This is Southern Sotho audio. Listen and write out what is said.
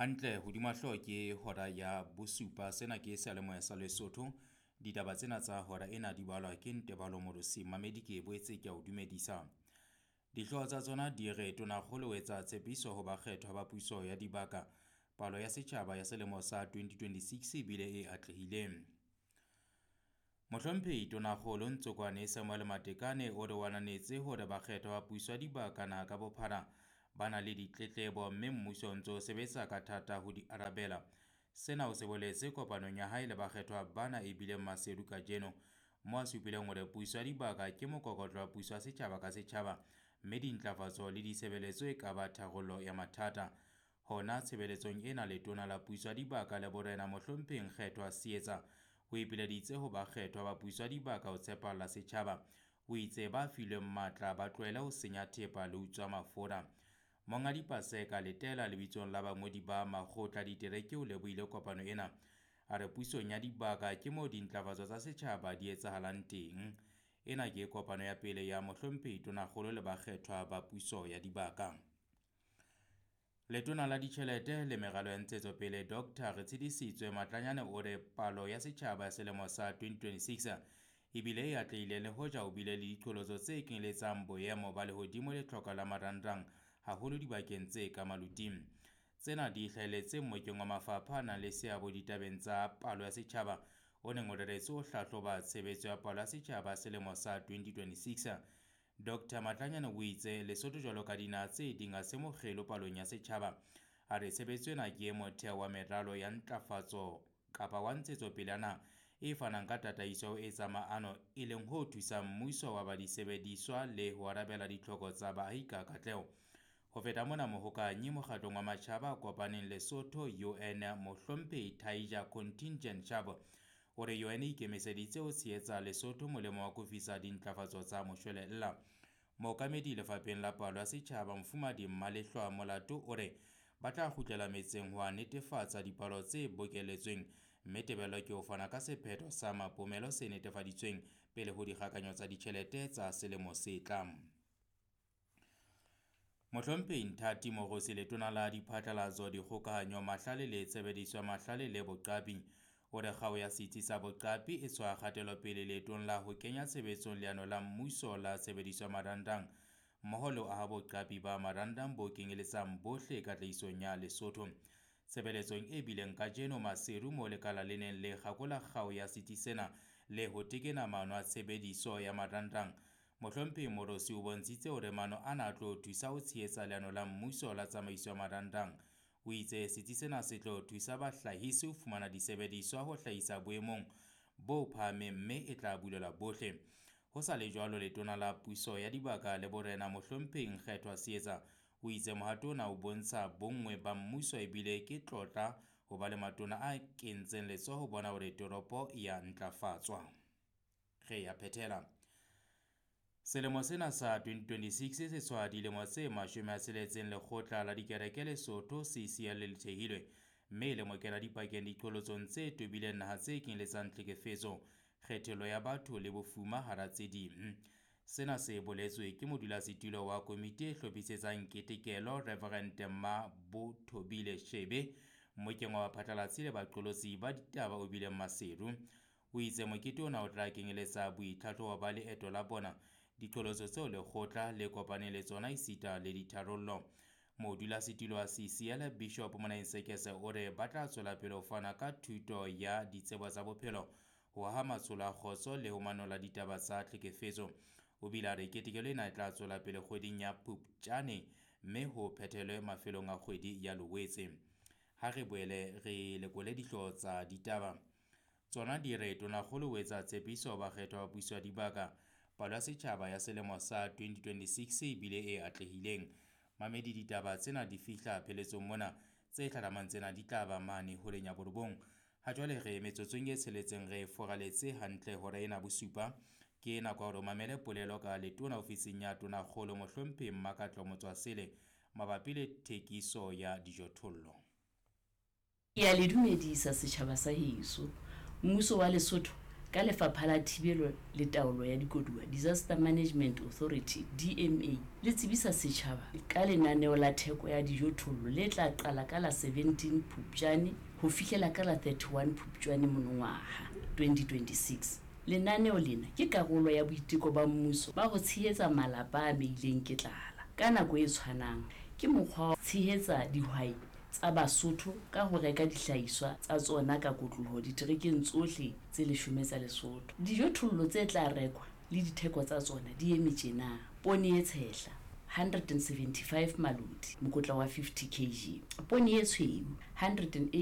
Hantle hodima hlooho ke hora ya bosupa. Sena ke seyalemoya sa Lesotho. Ditaba tsena tsa hora ena di balwa ke Ntebalo Morosi. Mamedi ke boetse ke a o dumedisa. Dihlooho tsa tsona di re Tonakgolo o etsa tshepiso ho bakgethwa ba puso ya dibaka. Palo ya setjhaba ya selemo sa 2026 e bile e atlehileng. Mohlomphehi Tonakgolo Ntsokwane Samuel Matekane o re o ananetse hore bakgethwa ba puso ya dibaka naha ka bophara ba na le ditletlebo mme mmuso o ntse o sebetsa ka thata ho di arabela. Sena o se boletse kopanong ya hae le bakgethwa bana e bileng Maseru kajeno, moo a supileng hore puso ya dibaka ke mokokotlo wa puso ya setjhaba ka setjhaba mme dintlafatso le ditshebeletso e ka ba tharollo ya mathata. Hona tshebeletsong ena letona la puso ya dibaka le borena Mohlomphehi Nkgethwa Seetsa o ipileditse ho bakgethwa ba puso ya dibaka ho tshepahalla setjhaba. O itse ba filweng matla ba tlohele ho senya thepa le ho utswa mafura. Monghadi Paseka Letela lebitsong la bangodi ba makgotla ditereke o lebohile kopano ena. A re pusong ya dibaka ke moo dintlafatso tsa setjhaba di etsahalang teng. Ena ke kopano ya pele ya Mohlomphehi Tonakgolo le bakgethwa ba puso ya dibaka. Letona la ditjhelete le meralo ya ntshetsopele Dr. Retshidisitswe Matlanyane o re palo ya setjhaba ya selemo sa 2026 ebile e atlehile le hoja ho bile le diqholotso tse kenyeletsang boemo ba lehodimo le tlhoko la marangrang haholo dibakeng tse ka maluting. Tsena di hlahelletse mmokeng wa mafapha a nang le seabo ditabeng tsa palo ya setjhaba o neng o reretswe ho hlahloba tshebetso ya palo ya setjhaba selemo sa 2026. Dr. Matlanyane o itse Lesotho jwalo ka dinaha tse ding ha se mokgelo palong ya setjhaba. A re tshebetso ena ke motheo wa meralo ya ntlafatso kapa wa ntshetsopele ya naha e fanang ka tataiso ya ho etsa maano e leng ho thusang mmuso wa ba disebediswa le ho arabela ditlhoko tsa baahi ka katleho. Ho feta mona, mohokahanyi mokgatlong wa matjhaba a kopaneng Lesotho UN Mohlomphehi Taija Contingent Chabo o re UN e ikemiseditse ho tshehetsa Lesotho molemo wa kofisa dintlafatso tsa moshwelella. Mookamedi lefapheng la palo ya setjhaba Mofumadi Mmalehlwa Molato o re ba tla kgutlela metseng ho a netefatsa dipalo tse bokeletsweng mme tebello ke ho fana ka sephetho sa mapomelo se netefaditsweng pele ho dikgakanyo tsa ditjhelete tsa selemo se tlang. Mohlomphehi Nthati Mogosi letona la diphatlalatso, dikgokahanyo, mahlale le tshebediso ya mahlale le boqapi o re kgao ya setsi sa boqapi e tshwaya kgatelopele leetong la ho kenya tshebetsong leano la mmuso la tshebediso ya marangrang mmoho le ho aha boqapi ba marangrang bo kenyeletsang bohle katlehisong ya Lesotho. Tshebeletsong e bileng kajeno Maseru moo lekala le neng le kgakola kgao ya setsi sena le ho tekena maano a tshebediso ya marangrang. Mohlomphehi Morosi o bontshitse hore maano ana a tlo thusa ho tshehetsa leano la mmuso la tsamaiso ya marangrang. O itse setsi sena se tlo thusa bahlahisi ho fumana disebediswa ho hlahisa boemong bo phahameng mme e tla bulelwa bohle. Ho sa le jwalo, letona la puso ya dibaka le borena Mohlomphehi Nkgethwa Seetsa o itse mohato ona o bontsha bonngwe ba mmuso ebile ke tlotla ho ba le matona a kentseng letsoho ho bona hore toropo ya ntlafatswa. Re ya phethela. Selemo sena sa 2026 se tshwaya dilemo tse 60 lekgotla la dikereke Lesotho CCL le thehilwe mme le mokena dipakeng diqholotsong tse tobileng naha tse kenyeletsang tlhekefetso, kgethollo ya batho le bofuma hara tse ding. Sena se boletswe ke modulasetulo wa komiti e hlophisetsang ketekelo Reverend Mmabothobile Shebe mmokeng wa baphatlalatsi le baqolotsi ba ditaba o bileng Maseru. O itse mokete ona o tla kenyeletsa boitlhatlhobo ba leeto la bona, diqholotso tseo lekgotla le kopaneng le tsona esita le ditharollo. Modulasetulo wa CCL Bishop Monaeng Sekese o re ba tla tswela pele ho fana ka thuto ya ditsebo tsa bophelo, ho aha matsholo a kgotso le ho manolla ditaba tsa tlhekefetso. O bile a re ketekelo ena e tla tswela pele kgweding ya Phupjane mme ho phethelwe mafelong a kgwedi ya Loetse. Ha re boele re lekole dihlooho tsa ditaba. Tsona di re Tonakgolo o etsa tshepiso ho bakgethwa ba puso ya dibaka. Palo ya setjhaba ya selemo sa 2026 ebile e atlehileng. Mamedi ditaba tsena di fihla pheletsong mona, tse hlahlamang tsena di tla ba mane horeng ya borobong. Ha jwale re metsotsong e tsheletseng re foraletse hantle hora ena bosupa. Ke nako ya hore o mamele polelo ka letona ofising ya Tonakgolo Mohlomphehi Mmakatlo Motswasele mabapi le thekiso ya dijothollo. Ke a le dumedisa setjhaba sa heso. Mmuso wa Lesotho Ka Lefapha la Thibelo le Taolo ya Dikoduwa, Disaster Management Authority, DMA, le tsebisa setjhaba ka lenaneo la theko ya dijothollo le tla qala ka la 17 Phupjane ho fihlela ka la 31 Phupjane monongwaha 2026. Lenaneo lena ke karolo ya boiteko ba mmuso ba ho tshehetsa malapa a amehileng ke tlala. Ka nako e tshwanang, ke mokgwa wa ho tshehetsa dihwai tsa Basotho ka ho reka dihlahiswa tsa tsona ka kotloloho diterekeng tsohle tse leshome tsa Lesotho. Dijothollo tse tla rekwa le ditheko tsa tsona di eme tjena, Poone e tshehla, 175 maloti, mokotla wa 50 kg, poone e tshweu, 180.